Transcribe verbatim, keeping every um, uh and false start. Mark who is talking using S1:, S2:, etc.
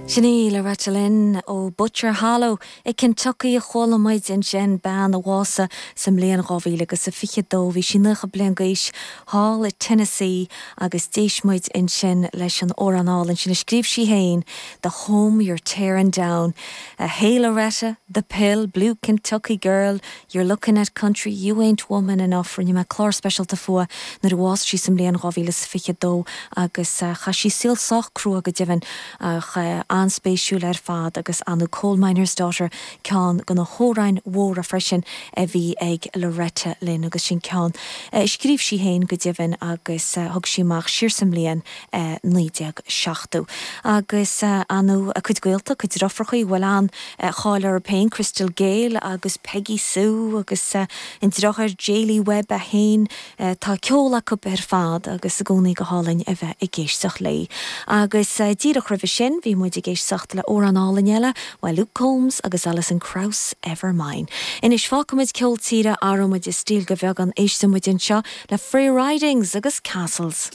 S1: Sin í Loretta Lynn ó Butcher Hollow i Kentucky a chuala muid ansin bean a bhásaigh sa mbliain dhá mhíle agus a fiche dó bhí sí nócha bliain d'aois thall i Tennessee agus d'éist muid ansin leis an amhrán álainn sin a scríobh sí féin The Home You're Tearing Down. Uh, hey Loretta, The Pill, Blue Kentucky Girl, You're looking at country, you ain't woman enough rinne mé clár speisialta fúithi nuair a bhásaigh sí sa mbliain dhá mhíle is fiche dó agus uh, chaith sí saol sách crua go deimhin ach uh, an-spéisiúil ar fad agus an Coal Miner's Daughter ceann de na hamhráin mhóra freisin a bhí ag Loretta Lynn agus sin ceann. Uh, scríobh sí féin go deimhin agus uh, thug sí amach siar sa mbliain uh, naoi déag seachtó. Agus uh, anu a cuid gaolta cuid deirfiúracha bhfuil an uh, cháil ar féin Crystal Gayle agus Peggy Sue agus uh, an deartháir J. Lee Webb a haon uh, tá ceol acu ar fad agus i gcónaí go hálainn a bheith ag éisteacht léi. Agus uh, díreach roimhe sin bhí muid ag éisteacht le amhrán álainn eile le Luke Combs agus Alison Krauss Ever Mine. Anois fágfaimid ceol tíre athróimid stíl go beagán éistfimid anseo le Free Ridings agus Castles.